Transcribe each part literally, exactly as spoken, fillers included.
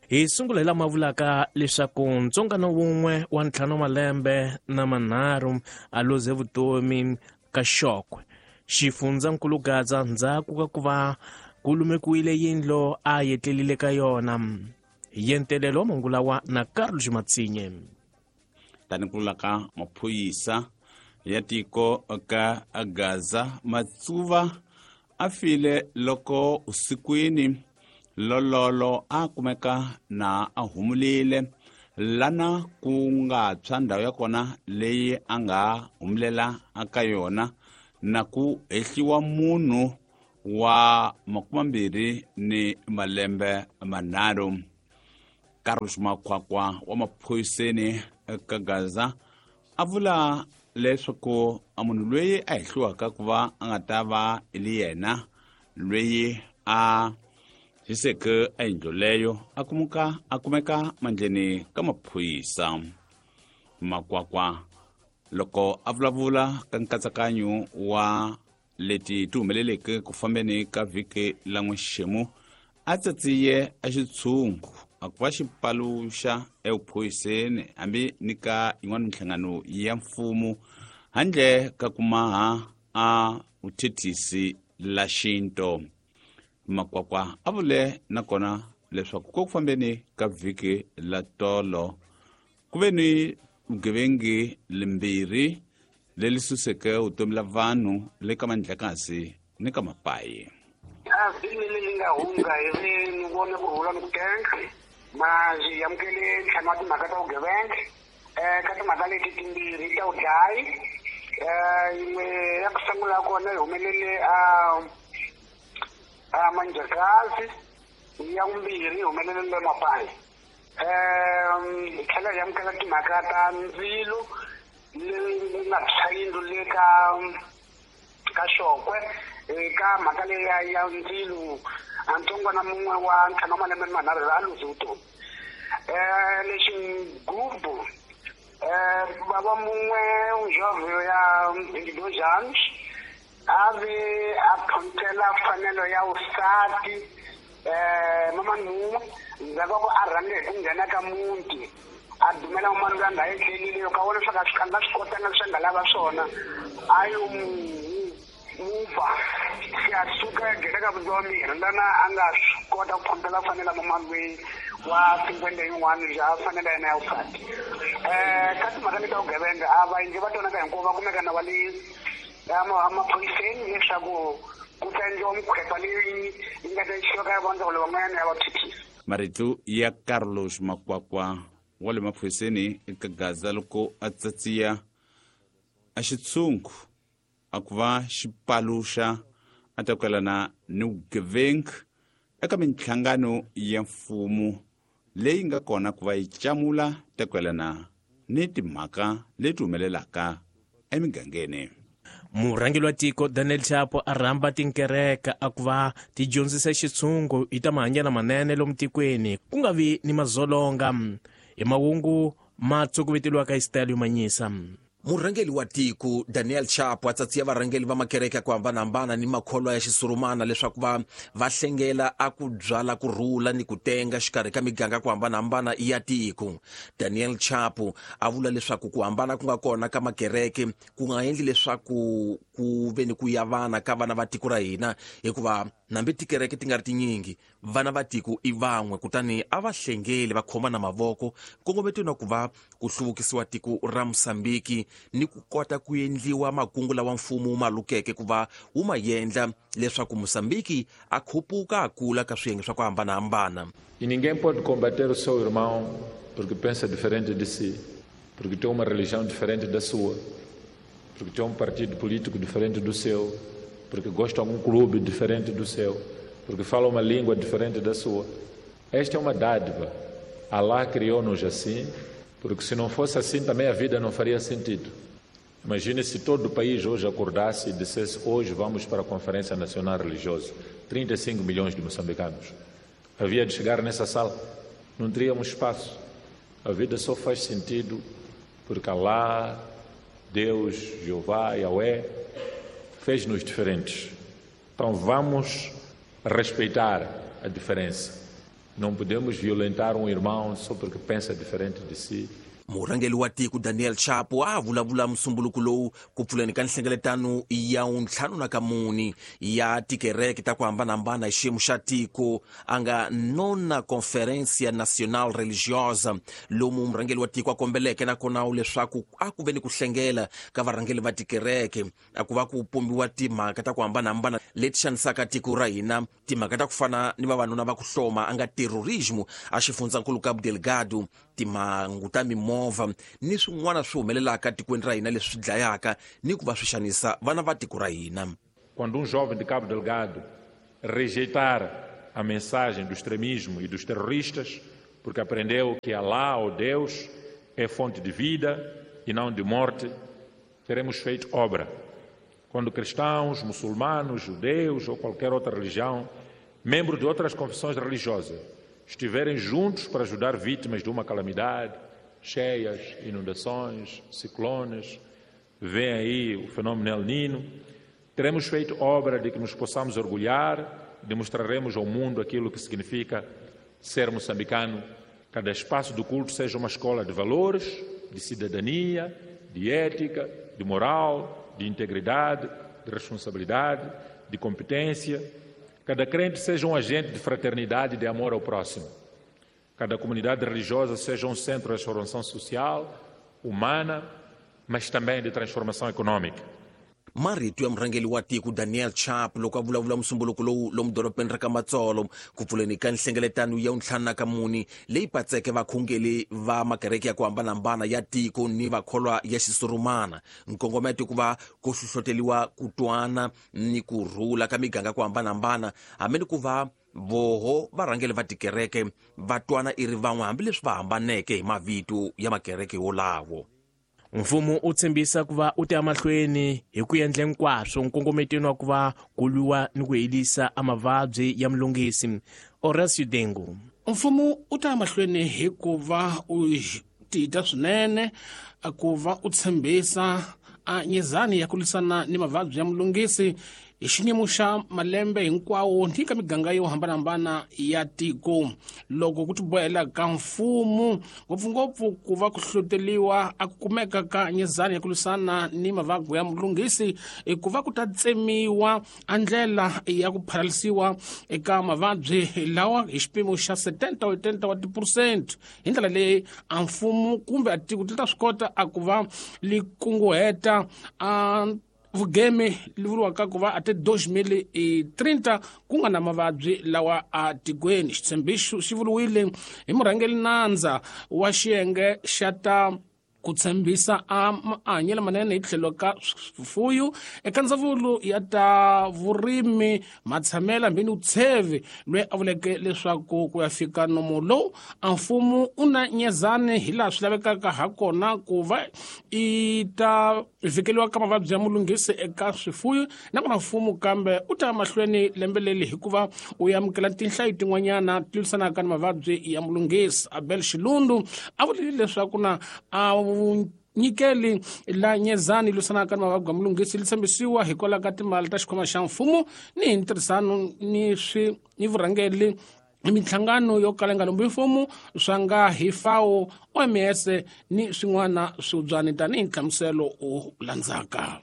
Hi sungula hi lama vulaka leswaku ntsongano wun'we wa ntlhanu malembe na manharhu a luze vutomi ka Xokwe xifundzankulu Gaza ndzhaku ka ku va ku lumekiwile yindlu a yetlelile ka yona. Yentelelo wa manguva lawa na Carlos Matsinye. Tani ku vula ka maphorisa ya tiko ka Gaza, Matsuva a file loko usikwini lololo a kumeka na a humulile lana ku nga tshwa ndhawu ya kona leyi a nga humulela aka yona na ku hehliwa munhu wa makumambirhi ni malembe manharhu. Carlos Makwakwa wa maphoriseni ka Gaza a vula leswaku a munhu loyi a hehliwaka ku va a nga ta va li yena loyi a hiseke a yindlu leyo a kumuka a kumeka mandleni ka maphorisa. Makwakwa loko a vulavula ka nkatsakanyo wa leti ti humeleleke ku fambeni ka vhiki la n'wexemu a tsatsiye a xitshungu a ku va xi paluxa evuphoriseni hambi ni ka yin'wana minhlangano ya mfumo handle ka ku maha a vuthethisi la xinto. Makwakwa a vule nakona leswaku ko ku fambeni ka vhiki la tolo ku ve ni vugevengi limbirhi leri suseke vutomi la vanhu le ka mandlakasi ni ka mapayi. A vhiki leri nga hundza hi ve ni vone ku rhula ni ku tenga ma byi amukele ntlhanu wa timhaka ta vugevenga um ka timhaka leti timbirhi ta vudlayi um yin'we ya ku sungula kona yi humelele a a Manjakazi, ya vumbirhi yi humelele le Mapayi. Um hi tlhela hi amukela timhaka ta ndzilo leyi nga tshwa yindlu le ka ka Xokwe. Eka mhaka leyi ya ya ndzilo a ntsongwana mun'we wa ntlhanu wa malembe manharhu a luze vutomi. Um lexi gubu um bava mun'we njovho ya vinte e dois anos a ve a phunthela mfanelo ya vusati um mamani mun'we ndzhaku ka ku a rhange hi ku nghena ka muti a dumela mamani loyi a nga etlelile yo ka vona leswaku a swi a nga swi kotanga leswi a nga lava swona a yo mu muba se a suka a nghena ka vutomi lana a nga swi kota ku phunthela mfanelo ya mamani loyi wa cinquenta yin'wana bya fanelo ya yena ya vusati. Um ka timhaka leti ta vugevenga a vaendli va tona ka hinkwavo va kumeka na va le emaphoriseni leswaku ku ta endliwa mikhwepa leyi yi nga ta yisiwa ka vandzawulo van'wanyana ya vathethisi. Marito ya Carlos Makwakwa wa le maphoriseni eka Gaza loko a tsatsiya a xitshungu a ku va xi paluxa a ta kwelana ni vugevenga eka minhlangano ya mfumo leyi nga kona ku va yi camula ta kwelana ni timhaka leti humelelaka emigangeni. Murhangeri wa tiko Daniel Chapo a rhamba tinkereke a ku va ti dyondzisa xitshungu hi ta mahanyelo manene lomu tikweni ku nga vi ni mazolonga. Hi mahungu ma tsokoveteliwaka hi style yo manyisa. Murhangeri wa tiko Daniel Chapo a tsatsiya varhangeri va makereke ya ku hambanahambana ni makholwa ya xisurumana leswaku va va hlengela a ku byala ku rhula ni ku tenga xikarhi ka miganga ku hambanahambana ya tiko. Daniel Chapo a vula leswaku ku hambana ku nga kona ka makereke ku nga endli leswaku ku ve ni ku yavana ka vana va tiko ra hina, hikuva nambi tikereke ti nga ri tinyingi vana va tiko i van'we, kutani a va hlengeli va khomana mavoko nkongometweni wa ku va ku hluvukisiwa tiko ra Mosambiki ni ku kota ku endliwa makungu lawa mfumo wu ma lukeke ku va wu ma endla leswaku Mosambiki a khupuka a kula ka swiyenge swa ku hambanahambana. E ninguém pode combater o seu irmão porque pensa diferente de si, porque tem uma religião diferente da sua, porque tem um partido político diferente do seu, porque gosta de algum clube diferente do seu, porque fala uma língua diferente da sua. Esta é uma dádiva. Allah criou-nos assim, porque se não fosse assim também a vida não faria sentido. Imagine se todo o país hoje acordasse e dissesse: hoje vamos para a Conferência Nacional Religiosa, trinta e cinco milhões de moçambicanos. Havia de chegar nessa sala, não teríamos espaço. A vida só faz sentido porque Allah, Deus, Jeová, Yahweh, fez-nos diferentes. Então vamos respeitar a diferença. Não podemos violentar um irmão só porque pensa diferente de si. Murhangeri wa tiko Daniel Chapo a vulavula musumbuluko lowu ku pfuleni ka nhlengeletano ya ntlhanu na kamuni ya tikereke ta ku hambanahambana hi xiyimo xa tiko a nga nona Conferência Nacional Religiosa, lomu murhangeri wa tiko a kombeleke nakona leswaku a ku ve ni ku hlengela ka varhangeri va tikereke a ku va ku pombiwa timhaka ta ku hambanahambana leti xanisaka tiko ra hina, timhaka ta ku fana ni vavanuna va ku hloma a nga terrorismo a xifundzankulu Cabo Delgado, timhangu ta mimovha ni swin'wana swi humelelaka tikweni ra hina leswi dlayaka ni ku va swi xanisa vana va tiko ra hina. Quando um jovem de Cabo Delgado rejeitar a mensagem do extremismo e dos terroristas, porque aprendeu que Alá ou Deus é fonte de vida e não de morte, teremos feito obra. Quando cristãos, muçulmanos, judeus ou qualquer outra religião, membros de outras confissões religiosas, estiverem juntos para ajudar vítimas de uma calamidade, cheias, inundações, ciclones, vem aí o fenômeno El Niño, teremos feito obra de que nos possamos orgulhar, demonstraremos ao mundo aquilo que significa ser moçambicano. Cada espaço do culto seja uma escola de valores, de cidadania, de ética, de moral, de integridade, de responsabilidade, de competência. Cada crente seja um agente de fraternidade e de amor ao próximo. Cada comunidade religiosa seja um centro de transformação social, humana, mas também de transformação econômica. Marito ya murhangeri wa tiko Daniel Chapo loko a vulavula musumbuluko lowu lomu dorobeni ra ka Matsolo ku pfuleni ka nhlengeletano ya ntlhanu na kamuni leyi patseke vakhongeli va makereke ya ku hambanahambana ya tiko ni vakholwa ya xisurumana. Nkongometo ku va ku hlohloteriwa ku twana ni ku rhula ka miganga ku hambanahambana, hambi ni ku va voho varhangeri va tikereke va twana i ri van'we hambileswi va hambaneke hi mavito ya makereke wolawo. Mfumo u tshembisa ku va u ta emahlweni hi ku endla hinkwaswo nkongometweni wa ku va ku lwiwa ni ku herisa amavabyi ya mulungisi. Horacio Dengo. Mfumo u ta emahlweni hi ku va u tita swinene ku va u tshembisa a nyezani ya ku lwisana ni mavabyi ya mulungisi hi xiyimo xa malembe hinkwawo ni ka miganga yo hambanahambana ya tiko. Loko ku tibohela ka mfumo ngopfungopfu ku va ku hlohloteliwa a ku kumeka ka nyezani ya ku lwisana ni mavabyi ya mulunghisi, ku va ku ta tsemiwa a ndlela ya ku pharalisiwa eka mavabyi lawa hi xipimo xa setenta wa tiphurusente. Hi ndlela leyi a mfumo kumbe a tiko ti ta swi kota a ku va li kunguheta a vugeme li vuriwaka ku va a te dois mil e trinta ku nga na mavabyi lawa a tikweni. Xitshembiso xi vuriwile hi murhangeri nandza wa xiyenge xa ta ku tshembisa a mahanyelo manene hi tlhelo ka swifuyo eka ndzawulo ya ta vurimi matshamela mbini Utshevi, loyi a vuleke leswaku ku ya fika nomo lowu a mfumo u na nyezani hi laha swi lavekaka ha kona ku va i ta vhikeliwa ka mavabyi ya mulunghisi eka swifuyo. Nakona mfumo kambe u ta mahlweni lembe leri hikuva u amukela tinhlayo tin'wanyana ti lwisanaka ni mavabyi ya mulunghisi. Abel Xilundu a vulile leswaku na a nyikeli la nyezani lwisanaka ni mavabyi ya mulunghisi li tshembisiwa hikwalaho ka timali ta xikhwama xa mfumo ni hi ntirhisano ni swi ni vurhangeri minhlangano yo kala yi nga lombi mfumo swa nga hi FAO, O M S ni swin'wana swibyani tanihi nhlamuselo u landzaka.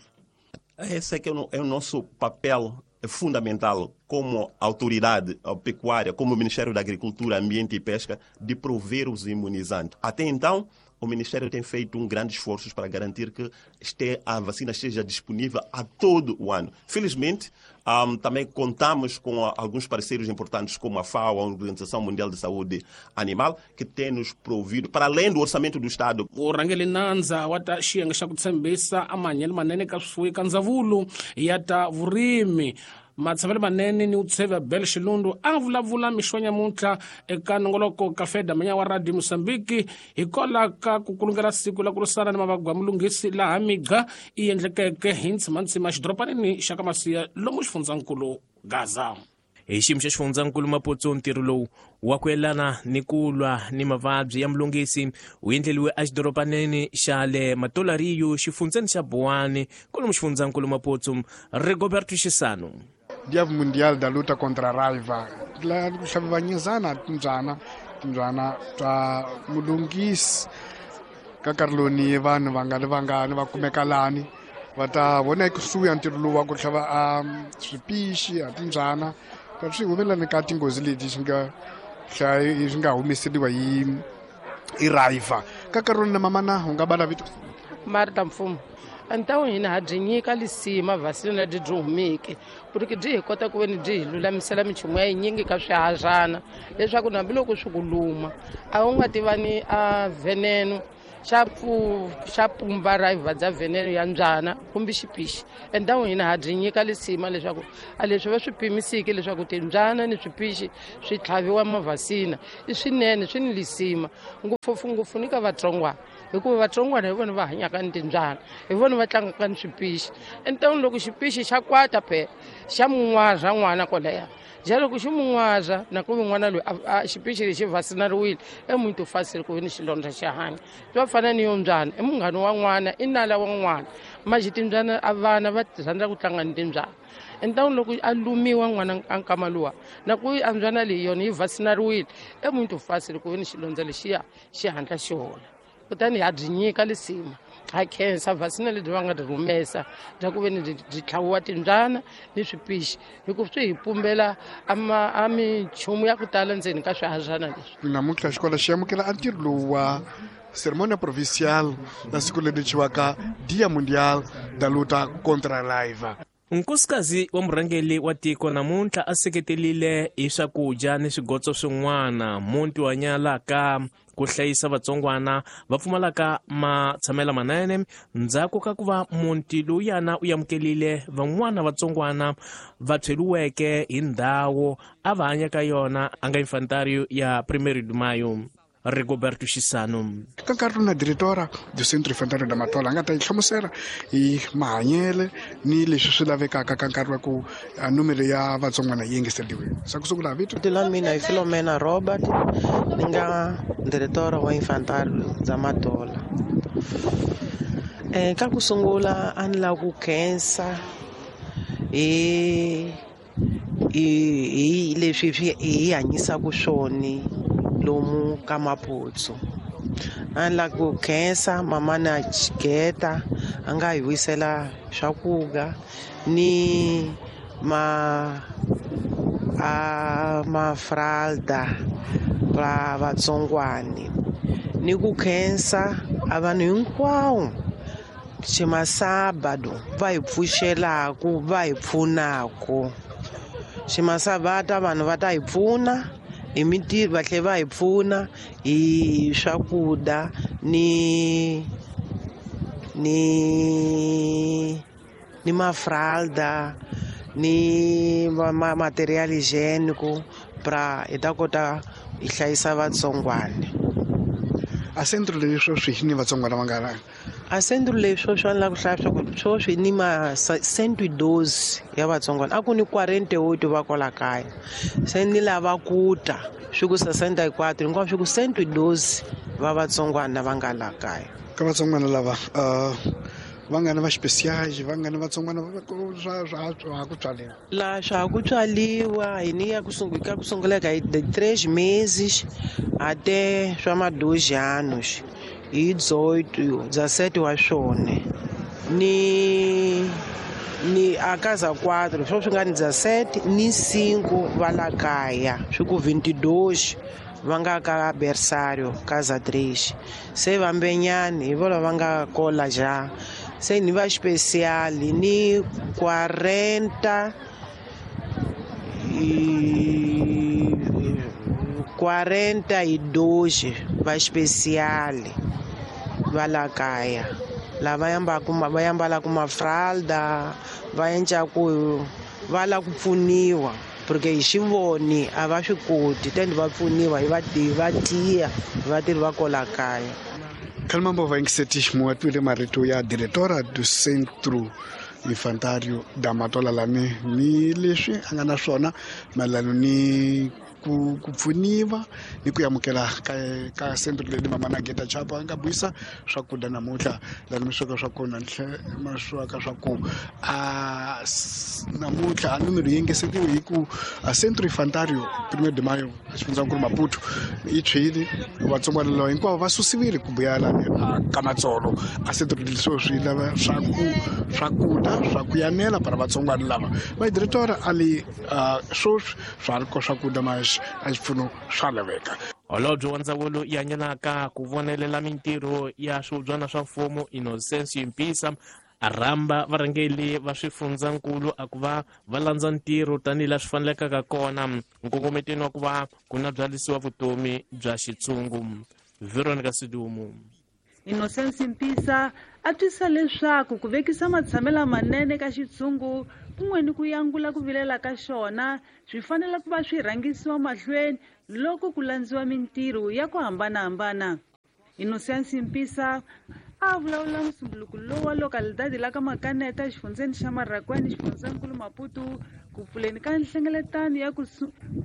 Esse é que é o nosso papel fundamental como autoridade pecuária, como Ministério da Agricultura, Ambiente e Pesca, de prover os imunizantes. Até então, o Ministério tem feito um grande esforço para garantir que este, a vacina esteja disponível a todo o ano. Felizmente, um, também contamos com alguns parceiros importantes como a FAO, a Organização Mundial de Saúde Animal, que tem nos provido, para além do orçamento do Estado. Murhangeri nandza wa ta xiyenge xa ku tshembisa a mahanyelo manene ka swifuwo ka ndzawulo ya ta vurimi matshamelo manene ni Utshevi Abel Xilundu a vulavula mixo nyamuntlha eka nongoloko ka Feda Manya wa Radio Mozambique hikwalaho ka ku kulungela siku la ku lwisana ni mavabyi ya mulunghisi laha migqa i endlekeke hi ntsimantsima xidorobanini xa ka Masiya lomu xifundzankulu Gaza. Hi xiyimo xa xifundzankulu Maputo, ntirho lowu wa ku yelana ni ku lwa ni mavabyi ya mulunghisi wu endleliwe exidorobaneni xa le Matolariyo xifundzeni xa Buwani kwalomu xifundzankulu Maputo. Rigoberto Xisano. Dia Mundial da Luta contra a Raiva la ku tlhaviwa nyezana timbyana timbyana ta mulungisi ka nkarhi lowu ni vanhu va nga ri vangani va kumeka lani va ta vona ekusuhi ya ntirho lowu wa ku tlhava a swipixi a timbyana ka swi humelelani ka tinghozi leti swi nga swi nga humeseriwa hi hi raiva ka nkarhi lowu na mamana u nga bala vito Marta Mfumo ntawu hina ha byi nyika lisima vasina byi byi humeke porque byi hi kota ku veni byi hi lulamisela minchumu ya yinyingi ka swihadyana leswaku hambiloko swi ku luma a wu nga tivani a veneno xa pfu xa pumba raiva bya veneno ya mbyana kumbe xipixi endawu hina ha byi nyika lisima leswaku a leswi va swi pimisiki leswaku timbyana ni swipixi swi tlhaviwa mavhasina i swinene swi ni lisima ngopfungopfu ni ka vatsongwana hikuva vatsongwana hi vona va hanyaka ni timbyana hi vona va tlangaka ni swipixi entawuni loko xipixi xa kwata phela xa mun'waza n'wana kwalaya ja loko xi mun'waza na ku n'wana loyi a xipixi lexi vasinariwile e muito fácil ku ve ni xilondza xi hanya swa fana ni yo mbyana i munghana wa n'wana i nala wa n'wana maxi timbyana a vana va rhandza ku tlanga ni timbyana entawuni loko a lumiwa n'wana a nkama luwa na ku a mbyana leyi yona yi vasinariwile e muito fácil ku ve ni xilondza lexiya xi hatla xi hola kutani ha byi nyika lisima ha khensa vasina lebyi va nga byi humesa bya ku ve ni byi tlhaviwa timbyana ni swipixi hikuva swi hi pumbela a minchumu ya ku tala ndzeni ka swihadyana leswi namuntlha xikolo xi amukela a ntirho lowu wa cerimônia provincial na siku leri thyiwaka Dia Mundial da Luta contra a Raiva. Nkosikazi wa murhangeri wa tiko namuntlha a seketelile hi swakudya ni swigotso swin'wana muti wa nyalaka ku hlayisa vatsongwana va pfumalaka matshamelo manene ndzhaku ka ku va muti lowuyana u amukelile van'wana vatsongwana va tshweliweke hi ndhawu a va hanya ka yona a nga infantário ya Primeiro de Maio. Rigoberto Xisano ka nkarhi lowu na diretora do Centro Infantário da Matola a nga ta yi hlamusela hi mahanyele ni leswi swi lavekaka ka nkarhi wa ku numero ya vatsongwana yi engeteriwile sa ku sungula vito vito la mina i Filomena Robert ni nga diretora wa Infantário da Matola. Eh ka ku sungula a ni lava ku khensa hi hi hi leswi hi hanyisaka swona lomu ka Maputsu. A ni lava ku khensa mama na Xigeta a nga hi wisela swakudya ni ma a mafralda ra vatsongwani ni ku khensa a vanhu hinkwawo ximasabado va hi pfuxelaku va hi pfunaku ximasabata vanhu va ta hi pfuna hi mintirho va tlhela va hi pfuna hi swakudya ni ni ni mafralda ni ma material higiênico pra hi ta kota hi hlayisa vatsongwana. A centro leyi sweswi ni vatsongwana va nga a centro leyi sweswi a ni lava ku hlaya swa ku sweswi ni ma cento e doze ya vatsongwana a ku ni quarenta e oito va kwala kaya se ni lava ku ta swi ku sessenta e quatro hinkwaswo swi ku cento e doze va vatsongwana va nga la kaya ka vatsongwana lava va nga ni va especiais va nga ni vatsongwana swa swa ha ku tswaliwa la swa ha ku tswaliwa hi ni ya ku sungula ka ku sungula ka de três meses até swa ma dois anos hi dezoito dezessete wa swona ni ni a casa quatro swo swi nga ni dezessete ni cinco va la kaya swi ku vinte e dois va nga ka berçário casa três se vambenyani hi vona va nga kola ja se ni va especial ni quarenta e quarenta e dois va especial va la kaya lava yambaku va yambalaka mafralda va endlaku va lava ku pfuniwa porque hi xivoni a va swi koti tende va pfuniwa hi va va tiya vatirhi va kola kaya. Kalmambo va yingiseti muwatwile marito ya diretora do Centro Infantário da Matola lani ni leswi a nga na swona mayelana ni ku ku pfuniwa ni ku amukela ka ka centro leyi mama na Geta Chapa nga buisa swakudya namuntlha laha mi sweka swa kona ma sweka swa ku a namuntlha a numero yi engesetiwe hi ku a Centro Infantario Primeiro de Maio xifundzankulu Maputo yi tshwile vatsongwana lava hinkwavo va susiwile ku vuya lani ka Matsolo a centro leswo swi lava swa ku swakudya swa ku yanela para vatsongwana lava va diretora a li swoswi swa ri ko swakudya mas a xipfuno swa laveka. Holobye wa ndzawulo ya hanyelaka ku vonelela mintirho ya swihubyana swa mfumo Innocencio Mpisa a rhamba varhangeli va swifundzankulu a ku va va landza ntirho tanihi laha swi fanelekaka kona nkongometweni wa ku va ku na byalisiwa vutomi bya xitshungu. Veronica Sidumo. Innocencio Mpisa a twisa leswaku ku vekisa matshamelo manene ka xitshungu kun'we ni ku yangula ku vilela ka xona swi fanele ku va swi rhangisiwa mahlweni loko ku landziwa mintirho ya ku hambanahambana. Innocencio Mpisa a vulavula musumbuluko lowu wa localidade la ka Makaneta exifundzeni xa Marracuene xifundzankulu Maputo ku pfuleni ka nhlengeletano ya ku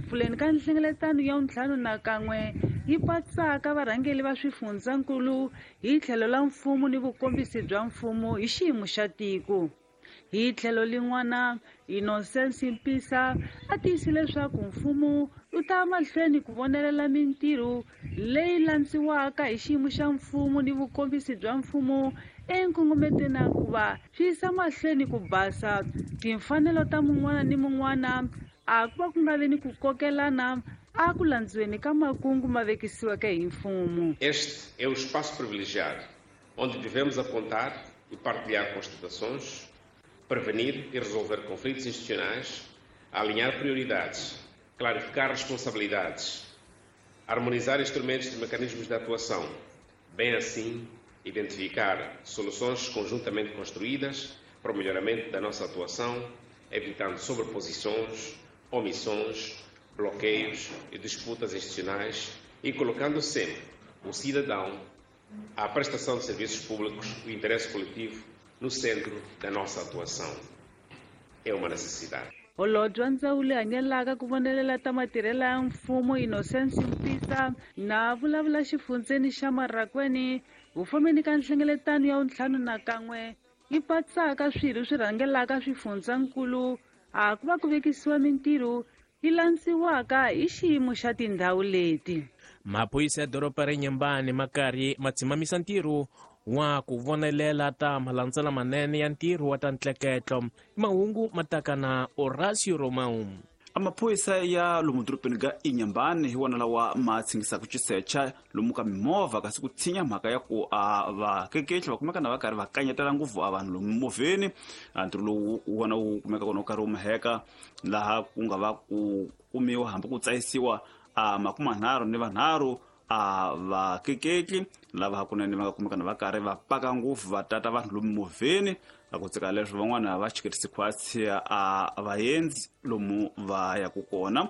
pfuleni ka nhlengeletano ya ntlhanu na kan'we yi patsaka varhangeli va swifundzankulu hi tlhelo la mfumo ni vukombisi bya mfumo hi xiyimo xa tiko. Hi tlhelo lin'wana Innocencio Mpisa a tiyise leswaku mfumo wu ta mahlweni ku vonelela mintirho leyi landziwaka hi xiyimo xa mfumo ni vukombisi bya mfumo enkongometweni ku va swi yisa mahlweni ku basa timfanelo ta mun'wana ni mun'wana a ku va ku nga vi ni ku kokelana a ku landziweni ka makungu ma vekisiweke hi mfumo. Este é o espaço privilegiado onde devemos apontar e partilhar constatações, prevenir e resolver conflitos institucionais, alinhar prioridades, clarificar responsabilidades, harmonizar instrumentos e mecanismos de atuação, bem assim identificar soluções conjuntamente construídas para o melhoramento da nossa atuação, evitando sobreposições, omissões, bloqueios e disputas institucionais e colocando sempre o cidadão, a prestação de serviços públicos e o interesse coletivo no centro da nossa atuação. É uma necessidade. Holobye wa ndzawulo yi hanyelaka ku vonelela ta matirhelo ya mfumo Innocencio Mpisa na vulavula xifundzeni xa Marracuene vufomeni ka nhlengeletano ya ntlhanu na kan'we yi patsaka swirho swi rhangelaka swifundzankulu a ku va ku vekisiwa mintirho yi landziwaka hi xiyimo xa tindhawu leti. Maphorisa ya doroba ra Inhambane ma karhi ma tshimamisa ntirho wa ku vonelela ta malandzela manene ya ntirho wa ta ntleketlo. Mahungu ma taka na Horacio Romão. Amaphoyisa ya lomu dorobeni ka Inhambane hi wona lawa ma tshingisaka xisecha lomu ka mimovha kasi ku tshinya mhaka ya ku a vakekehli va kumeka na va karhi va kanyetela ngopfu a vanhu lomu mimovheni. Ntirho lowu wona wu kumeka kona wu karhi wu maheka laha ku nga va ku kumiwa hambi ku tsayisiwa a makumanharhu ni vanharhu a vakekehli lava hakunene va nga kumeka na va karhi va paka ngopfu va tata vanhu lomu mimovheni. A ku tsika leswi van'wana va chiketisi khwatsi a vaendzi lomu va yaku kona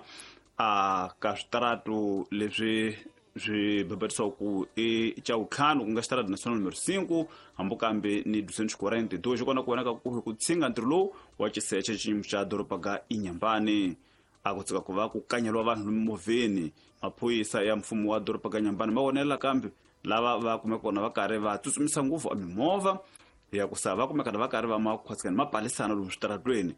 a ka switaratu leswi swi bebetisiwa ku i Chaukhanu ku nga xitaratu national numero cinco hambi kambe ni duzentos quarenta e dois kona ku vonaka ku ku tshinga ntirho lowu wa xiseche xiyimo xa doroba ga Inhambane. A ku tsika ku va ku kanyeliwa vanhu lomu mimovheni. Maphorisa ya mfumo wa doroba ga Inhambane ma vonelela kambe lava va kumeka kona va karhi va tsutsumisa ngopfu a mimovha ya ku sa va kumeka va karhi va makhwatsikani ma palisana lomu switaratweni.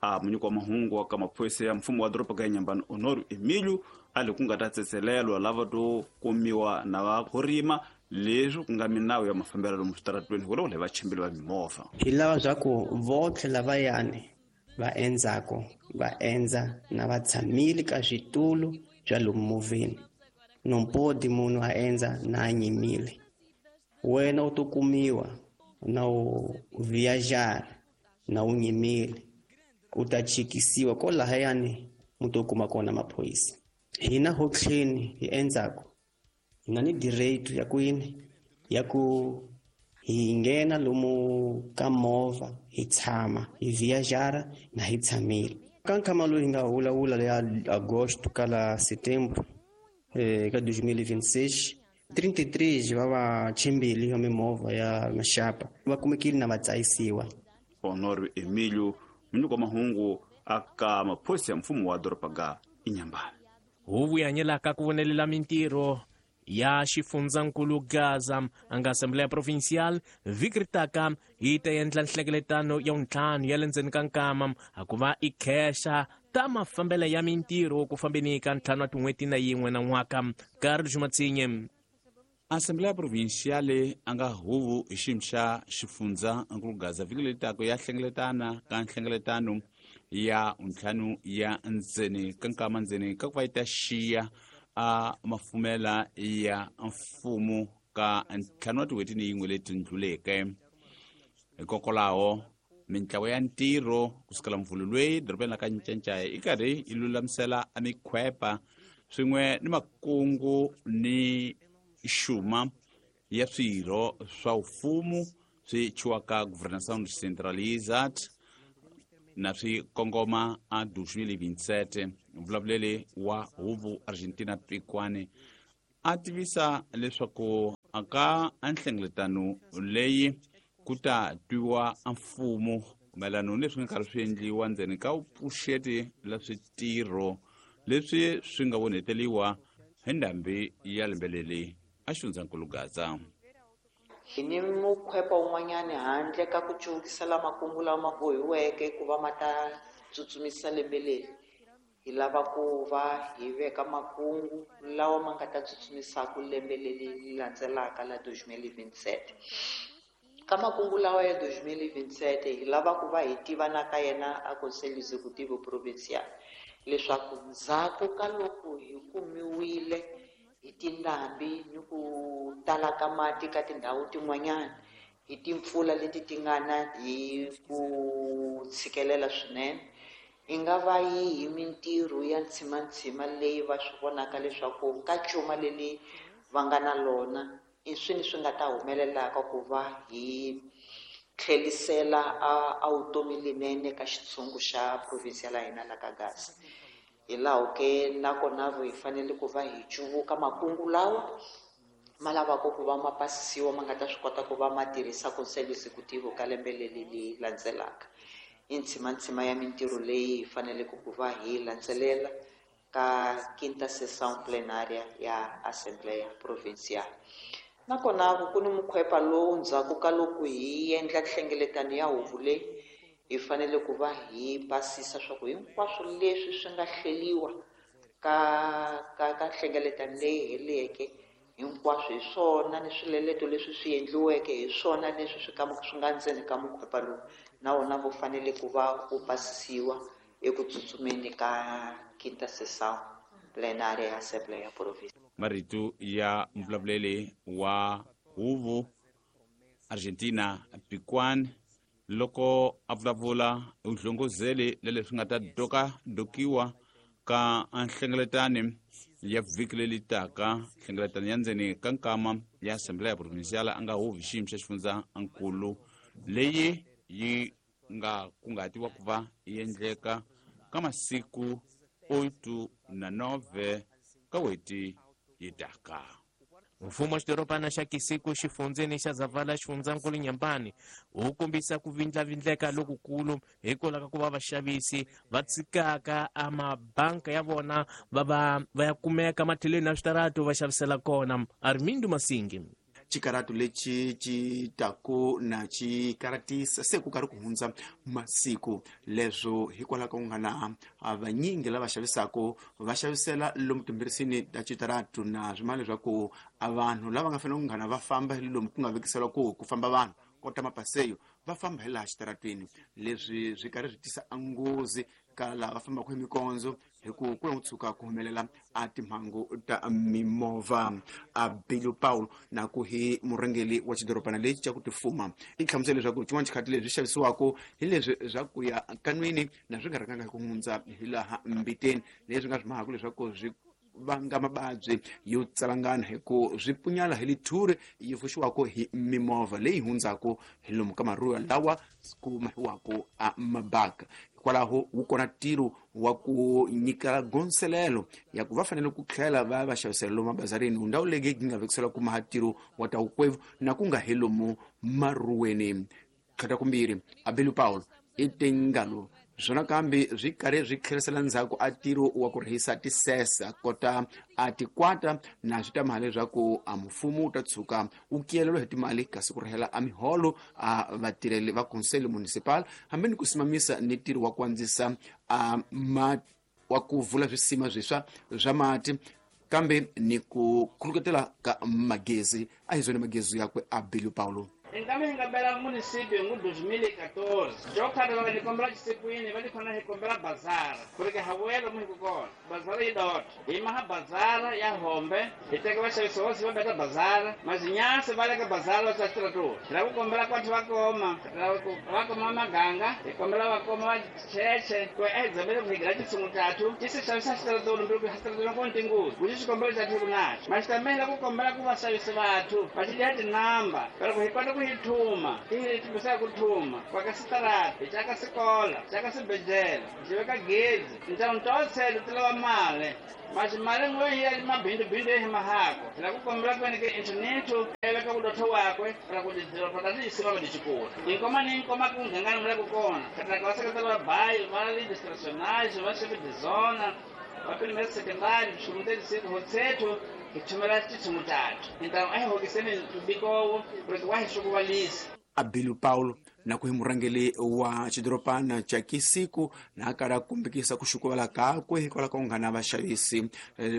A munyiko wa mahungu wa ka maphorisa ya mfumo wa doroba ga Inhambane Honório Emílio a le ku nga ta tsetselelwa lava to kumiwa na va khorima leswi ku nga minawu ya mafambelo lomu switaratweni hikwalaho le vachimbeli va mimovha. Hi lava swa ku votlhe lavayani va endzako va endza na va tshamile ka switulu bya lomu movheni. Não pode munhu a endza na a nyimile. Wena u to kumiwa na u viajar na u nyimile u ta chikisiwa kolahayani mu to kuma kona maphorisa. Hina ho tlheni hi endzako hi na ni direito ya kwini ya ku hi nghena lomu ka movha hi tshama hi viajara na hi tshamile. Ka nkhama lowu hi nga vulavula ya agosto ka la setembro eh, ka dois mil e vinte e seis trinta e três va vachimbeli va mimovha ya maxapa va kumekile na va tsayisiwa. Honório Emílio munyiko wa mahungu aka maphorisa ya mfumo wa doroba ga Inhambane. Huvo yi hanyelaka ku vonelela mintirho ya xifundzankulu Gaza a nga Assembleia Provincial vhiki ri taka yi ta endla nhlengeletano ya vuntlhanu ya le ndzeni ka nkama a ku va i khexa ta mafambelo ya mintirho ku fambeni ka ntlhanu wa tin'hweti na yin'we na n'waka. Carlos Matsinye. Assembleia Provincial a nga huvo hi xiyimo xa xifundzankulu Gaza vhiki leri taka ya hlengeletana ka nhlengeletano ya ntlhanu ya ndzeni ka nkama ndzeni ka ku va yi ta xiya a mafumela ya mfumo ka ntlhanu wa tin'hweti ni yin'we leti ndluleke. Hikokwalaho mintlawa ya ntirho kusukela mvhulu lweyi dorobeni la ka Ncancaya yi karhi yi lulamisela a mikhwepa swin'we ni makungu ni xuma ya swirho swa mfumo swi chiwaka Governação Descentralizada na swi kongoma a dois mil e vinte e sete. Mvulavuleli wa huvo Argentina Pikwane a tivisa leswaku aka nhlengeletano leyi ku ta twiwa mfumo mayelana ni leswi nga karhi swi endliwa ndzeni ka vupfuxeti la switirho leswi swi nga vonheteliwa hi ndhambi ya lembe leri a xifundzankulu Gaza. Hi ni mukhwepa wun'wanyani handle ka ku cuvukisela makungu lawa ma bohiweke ku va ma ta tsutsumisa lembe leri, hi lava ku va hi veka makungu lawa ma nga ta tsutsumisaka lembe leri landzelaka la dois mil e vinte e sete. Ka makungu lawa ya dois mil e vinte e sete hi lava ku va hi tiva na ka yena a Conselho Executivo Provincial leswaku ndzhaku ka loko hi kumiwile hi tindhambi ni ku tala ka mati ka tindhawu tin'wanyana hi timpfula leti ti nga na hi ku tshikelela swinene, i nga va yihi mintirho ya ntshimantsima leyi va swi vonaka leswaku ka cuma leri va nga na lona i swini swi nga ta humelelaka ku va hi tlhelisela a a vutomi lenene ka xitshungu xa province ya hina la ka Gaza. Hi laho ke nakona hi fanele ku va hi cuvuka makungu lawa ma lavaka ku va ma pasisiwa ma nga ta swi kota ku va ma tirhisa Conselho Executivo ka lembe leri leri landzelaka. I ntshimantsima ya mintirho leyi hi faneleke ku va hi landzelela ka quinta sessão plenária ya Assembleia Provincial. Nakona ku ni mukhwepa lowu ndzhaku ka loko hi endla nhlengeletano ya huvo leyi hi fanele ku va hi basisa swa ku hinkwaswo leswi swi nga hleliwa ka ka ka nhlengeletano leyi heleke hinkwaswo hi swona ni swileleto leswi swi endliweke hi swona leswi swi ka swi nga ndzeni ka mukhwepa lowu na wona wu fanele ku va wu pasisiwa eku tsutsumeni ka quinta sessão plenária ya Assembleia Provincial. Marito ya mvulavuleli wa huvo Argentina Pikwane loko a vulavula u hlongozeli leswi nga ta doka dokiwa ka nhlengeletano ya vhiki leri taka nhlengeletano ya ndzeni ka nkama ya Assembleia Provincial a nga huvi xiyimo xa xifundzankulu leyi yi nga kungatiwa ku va yi endleka ka masiku oito na nove ka n'hweti yi taka. Mfumo wa xidorobana xa Kisiku xifundzeni xa Zavala xifundzankulu Nyambani wu kombisa ku vindlavindleka lokukulu hikwalaho ka ku va vaxavisi va tshikaka a mabanka ya vona va va va ya kumeka matlhelweni ya switaratu va xavisela kona. Armindo Masingi. Xikaratu lexi ci taku na xikaratisa se ku karhi ku hundza masiku leswo hikwalaho ka ku nga na vanyingi lava xavisaka va xavisela lomu timbirisini ta xitaratu na swimana leswaku a vanhu lava nga fanele ku nghana va famba hi lomu ku nga vekisela ku ku famba vanhu kota mapaseyo va famba hi laha xitaratwini. Leswi swi karhi swi tisa nghozi ka lava fambaka hi mikondzo hi ku ku tshuka ku humelela a timhangu ta mimovha. A Bilu Paulo na ku hi murhangeri wa xidorobana lexi xa ku tifuma i hlamusela leswaku xin'wana xikhathi leswi xavisiwaka hi leswi swa ku ya kanwini na swi nga rhanganga hi ku hundza hi laha mbiteni leswi nga swi mahaka leswaku swi vanga mababyi yo tsalangana hi ku swi punyala hi lithuri yi fuxiwaka hi mimovha leyi hundzaka hi lomu ka maruwa lawa ku mahiwaka a mabaka. Hikwalaho wu kona ntirho wa ku nyika gonselelo ya ku va fanele ku tlhela va va xavisela lomu mabazarini ndhawu leyi yi nga vekisela ku maha ntirho wa ta wukwevu na ku nga hi lomu maruweni. Tlhata kumbirhi Abelu Paulo i tengalo Swona kambe swi karhi swi tlherisela ndzhaku a ntirho wa ku rihisa tisesa kota a tikwata na swi ta mali leswaku a mfumo wu ta tshuka wu kiyelelwa hi timali kasi ku rihela a miholo a vatirheli va conselho municipal hambi ni ku simamisa ni ntirho wa ku andzisa a ma wa ku vula swisima swiswa swa mati kambe ni ku khuluketela ka magezi a hi zwona magezi yakwe a Billy Paulo. Inkambe hi nga bela municipio hi dois mil e quatorze jokhale va ni kombela xisikwini va ni khona hi kombela bazara ku ri ke ha vuyela lomu hi ku kona bazara yi dota hi maha bazara ya hombe hi teka vaxavisi vosi va beta bazara mazinyasi va le ka bazara va xaxitiratura hi lava ku kombela kwathu va koma va koma maganga hi kombela va koma va cheche ku a hi dzamele ku hi gira titshungu tatu ti se xavisa xitaratulu mbilu ku xitaratulu ko ntinguzi ku xi xikombelo xa thiku naxo maxitamela ku kombela ku vaxavisi vathu va xi dya tinamba pero ku hi kota ku hi thuma hi thumbisa ku thuma kwa ka sitarata hi caka sikola caka swibedhlele hi veka gezi tinxavo to ti lava mali masi mali n'we hi ya mabindubindu hi mahako hi lava ku kombela ku ke internetho ya veka vudotho wakwe ra ku tidoroba ta tiyisima va dicikula hinkoma ni nkoma ku nghangani mula ku kona katlaka va seketela va bayi va legislationage va chef de zona va primaire secondary swimuteli hotsetho hi thumela titshungu tatu hintamu a hi hokiseni ntubikowo ku ri wa hi swikuvalisa. Abelu Paulo na ku hi murhangeri wa xidorobana xa Kisiku na kala kumbekisa ku xukuvala kakwe hikwalaho ka ku nga na vaxavisi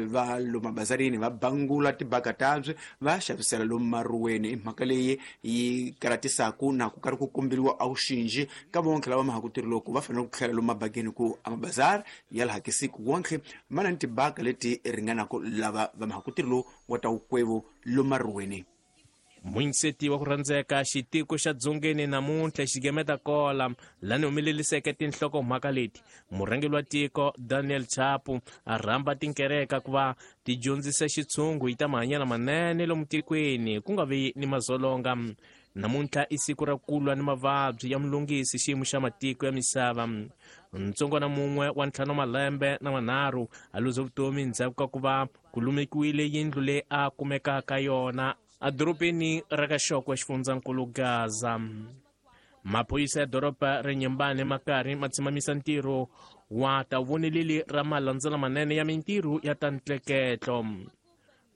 va lomu mabazarini va bangula tibaka tabye va xavisela lomu maruweni. I mhaka leyi yi karatisaku na ku karhi ku komberiwa a wuxinji ka vonke lava mahaku tirhi loko va fanele ku tlhela lomu mabakeni ku a mabazari ya laha Kisiku wonke ma na ni tibaka leti ringanaka lava va mahaku tirhi lowu wa ta wukwevo lomu maruweni. Muyinseti wa ku rhandzeka xitiko xa dzongeni namuntlha xigemeta kola lani humeleliseke tinhlokomhaka leti murhangeri wa tiko Daniel Chapo a rhamba tinkereka ku va ti dyondzisa xitshungu hi ta mahanyelo manene lomu tikweni ku nga vi ni mazolonga. Namuntlha i siku ra ku lwa ni mavabyi ya mulungisi xiyimo xa matiko ya misava. Ntsongwana mun'we wa ntlhanu malembe na manharhu a luze vutomi ndzhaku ka ku va ku lumekiwile yindlu leyi a kumekaka yona edorobeni ra ka Xokwe xifundzankulu Gaza. Maphorisa ya doroba ra Nyembane ma karhi ma tshimamisa ntirho wa tavoneleli ra malandzela manene ya mintirho ya ta ntleketlo.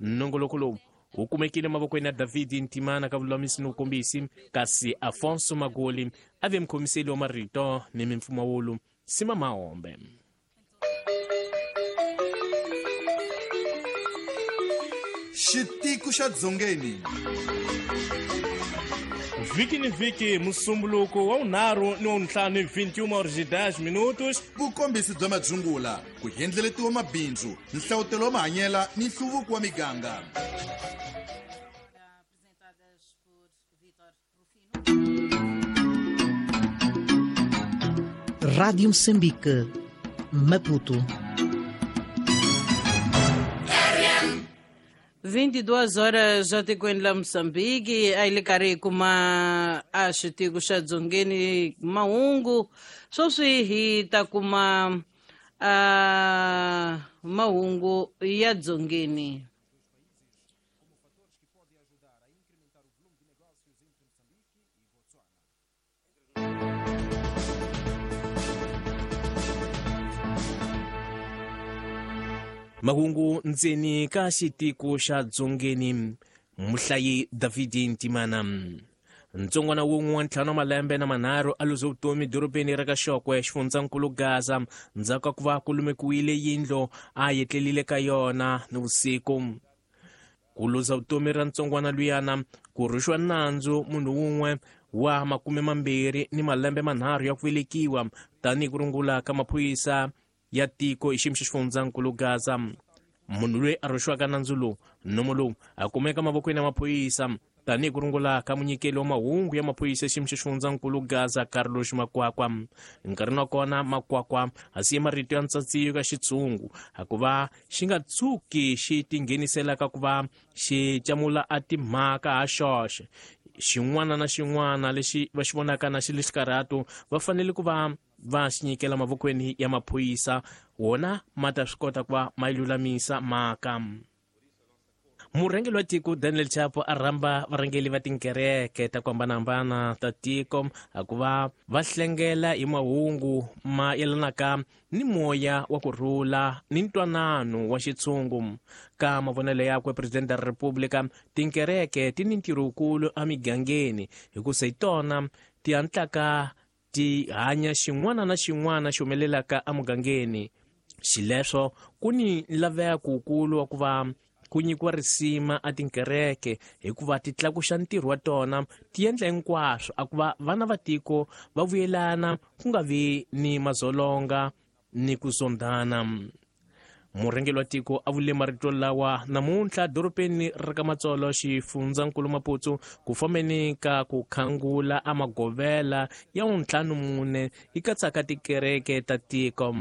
Nongoloko lowu wu kumekile mavokweni ya David Ntimana ka vululamisi ni vukombisi, kasi Afonso Magoli a ve mukhomiseli wa marito ni mimpfumawulo Sima Mahombe. Xitiko xa dzongeni vhiki ni vhiki musumbuluko wa vunharhu ni wa vuntlhanu vinte e uma horas e dez minutos. Vukombisi bya madzungula ku endleletiwa mabindzu nhlavutelo wa mahanyela ni nhluvuko wa miganga. Rádio Moçambique, Maputo. vinte e duas horas já tikweni la Moçambique, a hi le karhi hi kuma a xitiko xa dzongeni mahungu. Sweswi hi ta kuma a mahungu ya dzongeni. Mahungu ndzeni ka xitiko xa dzongeni muhlayi David Ntimana. Ntsongwana wun'we wa ntlhanu wa malembe na manharhu a luze vutomi dorobeni ra ka Xokwe xifundzankulu Gaza ndzhaku ka ku va ku lumekiwile yindlu a yetlelile ka yona ni vusiku. Ku luza vutomi ra ntsongwana luyana ku rhuxiwa nandzu munhu wun'we wa makume mambirhi ni malembe manharhu ya ku velekiwa tanihi ku rungula ka maphorisa ya tiko hi xiyimo xa xifundzankulu Gaza. Munhu loyi a rhuxiwaka nandzu lowu nomo lowu a kumeka mavokweni ya maphorisa tanihi ku rungula ka munyikeli wa mahungu ya maphorisa xiyimo xa xifundzankulu Gaza Carlos Makwakwa. Nkarhini wa kona Makwakwa a siye marito ya ntsatsiyo ka xitshungu hikuva xi nga tshuki xi tingheniselaka ku va xi camula a timhaka ha xoxe. Xin'wana na xin'wana lexi va xi vonaka na xi le xikarhatu va fanele ku va va xi nyikela mavokweni ya maphorisa wona ma ta swi kota ku va ma yi lulamisa mhaka. Murhangeri wa tiko Daniel Chapo a rhamba varhangeri va tinkereke ta ku hambanahambana ta tiko ku va va hlengela hi mahungu ma yelanaka ni moya wa ku rhula ni ntwanano wa xitshungu. Ka mavonelo yakwe Presidente ra Republika, tinkereke ti ni ntirho wukulu emigangeni hikusa hi tona ti hatlaka ti hanya xin'wana na xin'wana xi humelelaka emugangeni. Xileswo ku ni laveko wukulu wa ku va ku nyikiwa risima a tinkereke hikuva ti tlakuxa ntirho wa tona, ti endla hinkwaswo a ku va vana va tiko va vuyelana ku nga vi ni mazolonga ni ku zondhana. Murhangeri wa tiko a vule marito lawa namuntlha dorobeni ra ka Matsolo xifundzankulu Maputo ku fambeni ka ku khangula a magovela ya ntlhanu mune yi katsaka tikereke ta tiko.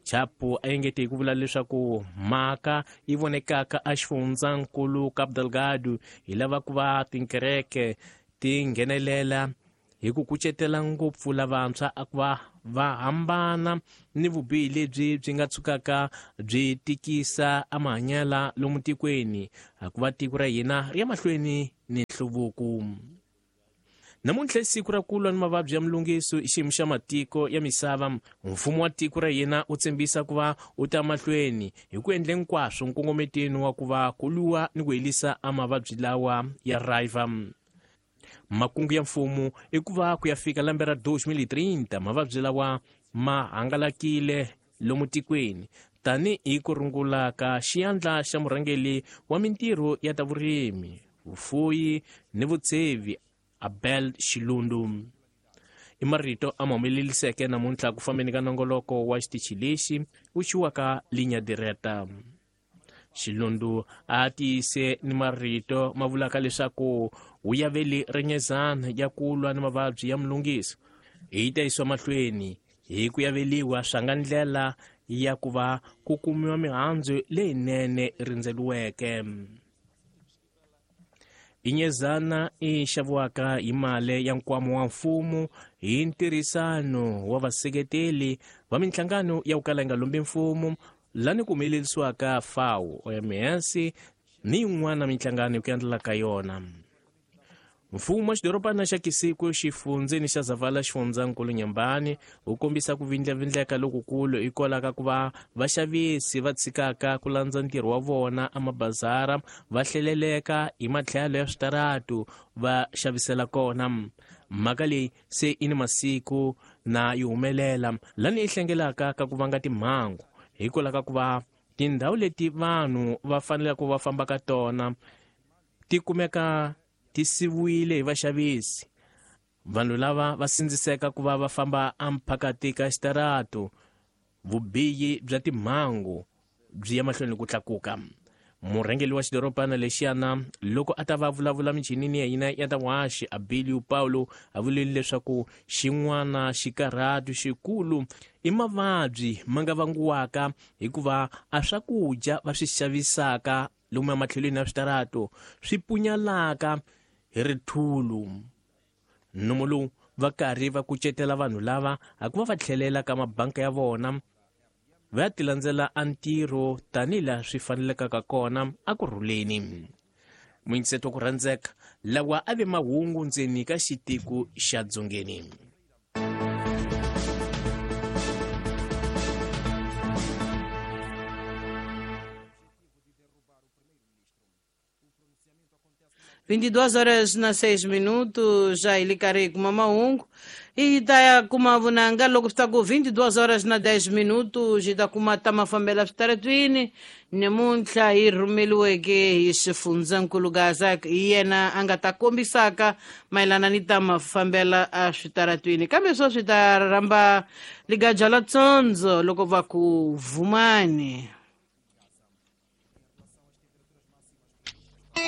Chapo a engete hi ku vula leswaku mhaka yi vonekaka a xifundzankulu Cabo Delgado hi lava ku va tinkereke ti nghenelela hi ku kucetela ngopfu lavantshwa a ku va va hambana ni vubihi lebyi byi nga tshukaka byi tikisa amahanyela lomu tikweni a ku va tiko ra hina ri ya mahlweni ni nhluvuko. Namuntlha siku ra ku lwa ni mavabyi ya mulungiso i xiyimo xa matiko ya misava. Mfumo wa tiko ra hina wu tshembisa ku va wu ta mahlweni hi ku endla hinkwaswo nkongometeni wa ku va ku lwiwa ni ku herisa a mavabyi lawa ya raiva. Makungu ya mfumo i ku va ku ya fika lembe ra twenty thirty mavabyi lawa ma hangalakile lomu tikweni tanihi ku rungula ka xiyandla xa murhangeri wa mintirho ya ta vurimi, vufuyi ni vutsevi Abel Xilundu. I marito a ma humeleliseke namuntlha ku fambeni ka nongoloko wa xitichi lexi wu xiwaka Linha Direta. Xilundu a tiyise ni marito ma vulaka leswaku wu yaveli renyezana ya ku lwa ni mavabyi ya mulungiso hi ta yisiwa mahlweni hi ku yaveliwa swa nga ndlela ya ku va ku kumiwa mihandzu leyinene rindzeliweke. Inyezana i xaviwaka hi mali ya nkwama wa mfumo hi ntirhisano wa vaseketeli va minhlangano ya ku kala yi nga lombi mfumo lani ku humelerisiwaka F A O, O M S ni yin'wana minhlangano hi ku endlela ka yona. Mfumo wa xidorobana xa Kisiku xifundzeni xa Zavala xifundzankulu Nyambani wu kombisa ku vindlavindleka lokukulu hikwalaho ka ku va vaxavisi va tshikaka ku landza ntirho wa vona emabazara va hleleleka hi matlhelo ya switaratu va xavisela kona. Mhaka leyi se i ni masiku na yi humelela lani yi hlengelaka ka ku vanga timhangu hikwalaho ka ku va tindhawu leti vanhu va faneleke va famba ka tona ti kumeka ti siviwile hi vaxavisi. Vanhu lava va sindziseka ku va va famba emphakati ka xitaratu. Vubihi bya timhangu byi ya mahlweni ku tlakuka. Murhangeri wa xidorobana lexiyana loko a ta va vulavula michinini ya hina ya ta vuhaxi Abilio Paulo a vulile leswaku xin'wana xikarhatu xikulu i mavabyi ma nga vangiwaka hikuva a swakudya va swi xavisaka lomu ematlhelweni ya switaratu swi punyalaka hi rithulu. Nomo lowu va karhi va kucetela vanhu lava a ku va va tlhelela ka mabanka ya vona va ya tilandzela a ntirho tanihilaha swi fanelekaka kona a ku rhuleni. Muyingiseto ku rhandzeka lawa a ve mahungu ndzeni ka xitiko xa Dzongeni. vinte e duas horas na seis minutos, já ele karhi kuma mahungu i ta ya kuma vunanga loko swi ta ku vinte e duas horas na dez minutos hi ta kuma ta mafambela switaratwini namuntlha hi rhumeliweke hi xifundzankulu Gaza hi yena a nga ta kombisaka mayelana ni ta mafambela a switaratwini kambe swo swi ta rhamba ligaja la tsondzo loko va ku vumani.